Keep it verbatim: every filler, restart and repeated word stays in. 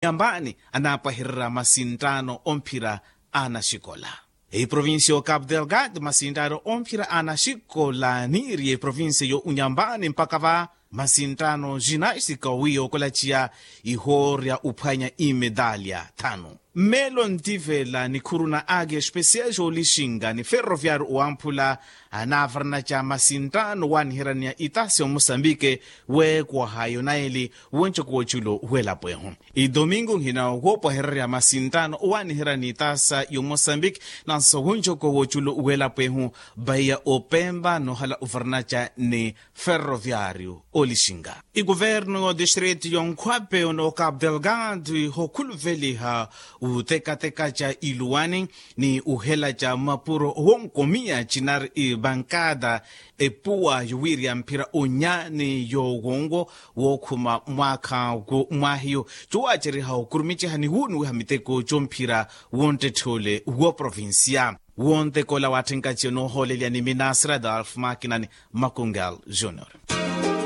Unyambani anaapwahererya masinttaano omphira a anaxikola. Eprovincia y'ocapu delgado masinttaano omphira a anaxikola aniiriye eprovincia y'unyambani mpakha va masinttaano jinastika wi yookolaciya ihoorya uphwanya imedalya thanu. Mmeelo ntivela nikhuru na agi especial joolixinga ni ferroviario owamphula anaavaranaca masinttaano owaaniheraniya itasi omosambike weekwaha yonaeli woncoka w'oculo w'elapo ehu. Idomingo nhina woopwahererya masinttaano owaaniherani itasa y'omosambiki nanso wonjoko w'oculo w'elapo ehu. Vaiya opempa noohala ovaranaca ni ferroviario olixinga ikuvernu y'odistritu y'onkhwape onookapu delgado ihokhuluveliha utekateka ca iluwani ni uhela ca mapuro wonkomiya cinari ivankada epuwa yowiiriya mphira onyani yowonwo wookhuma mwaakha w'omwahiyo cowaaceriha okurumiciha ni wuuniwiha miteko comphira wontthetth'ole w'oprovincia. Wonteko ola waatthenkaci onoohoolelya ni minasira dalfu makinani makungal junior.